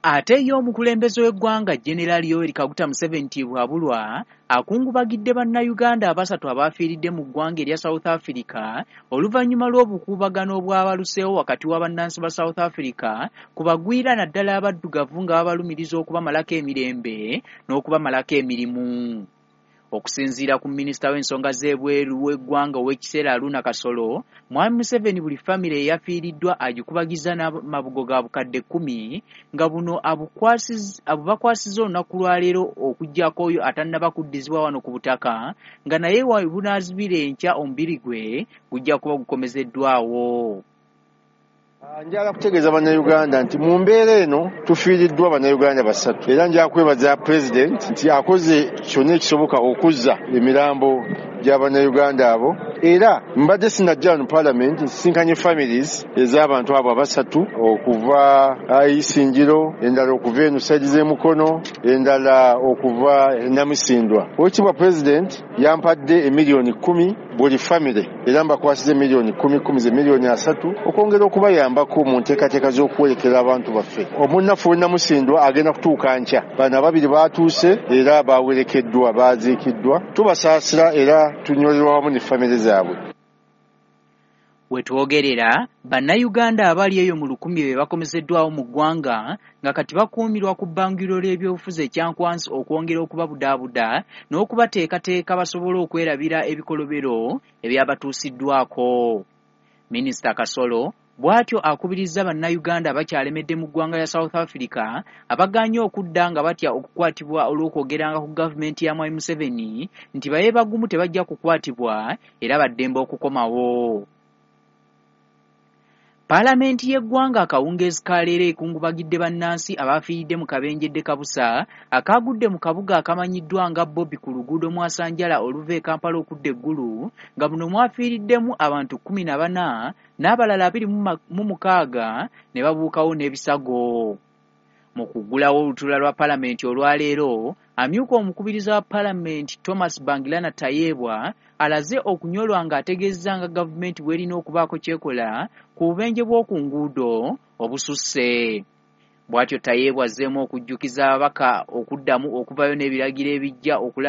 Ate ye omukulembeze w'eggwanga General Yoweri Kaguta Museveni Tibuhaburwa akungubagidde bannayuganda abasatu abaafiiridde mu ggwanga erya South Africa oluvannyuma lw'obukuubagano obwabaluseewo wakati wa bannansi ba South Africa ku bagwira naddala abaddugavu nga babalumiriza okubamalako emirembe n'okubamalako emirimu. Okusinziira ku minisita w'ensonga z'ebweru w'eggwanga ow'ekiseera Haruna Kasolo, Mwami Museveni buli famire eyafiiriddwa agikubagiza n'amabugo ga bukadde 10 nga buno abubakwasizza olunaku lwaleero okuggyako oyo atannaba kuddizibwa wano ku butaka nga naye we bunaazibira enkya omubiri gwe gujja kuba gukomezeddwawo. Njagala kutegeeza bannayuganda nti mu mbeera eno tufiiriddwa bannayuganda basatu, era njagala kwebaza pulezidenti nti akoze kyonna ekisoboka okuzza emirambo gya bannayuganda abo. Era mbadde sinajja wano paalamenti nsisinkanye families ez'abantu abo abasatu okuva Isingiro, endala okuva eno saidi z'emukono, endala okuva Namisindwa. Oweekitiibwa pulezidenti yampadde emiliyoni 10 buli famire, era mbakwasiza emiliyoni 10 10 ze miliyoni 30 okwongera okubayambako mu nteekateeka z'okuwerekera abantu baffe. Omunnaffe w'e Namusindwa agenda kutuuka nkya. Bano ababiri baatuuse era bawerekeddwa, baaziikiddwa. Tubasaasira era tunyolerwa wamu ne famire zaabwe. We twogerera, bannayuganda abali eyo mu 1000 be bakomezeddwawo mu ggwanga nga kati bakuumirwa ku bbanguliro ly'ebyobufuzi ekyankwanzi okwongera okubabudaabuda n'okubateekateeka basobole okwerabira ebikolobero ebyabatuusiddwako. Minisita Kasolo bw'atyo akubirizza bannayuganda abakyalemedde mu ggwanga lya South Africa abagaanye okudda nga batya okukwatibwa olw'okwogeranga ku gavumenti ya Mwami Museveni nti babe bagumu tebajja kukwatibwa era baddembe okukomawo. Paalamenti y'eggwanga akawungeezi ka leero ekungubagidde bannansi abafiiridde mu kabenje Kabusa akaagudde mu kabuga akamanyiddwa nga Bobby ku luguudo Mwasanjala oluva e Kampala okudda e Gulu, nga muno mwafiiriddemu abantu 14 n'abalala 26 ne babuukawo n'ebisago. Mu kuggulawo olutuula lwa paalamenti olwaleero, amyuka omukubiriza wa paalamenti Thomas Bangirana Tayebwa alaze okunyolwa ng'ategeezezza nga gavumenti bw'erina okubaako ky'ekola ku bubenje bw'oku nguudo obususse. Bw'atyo Tayebwa azzeemu okujjukiza ababaka okuddamu okuvaayo n'ebiragiro ebijja okulaba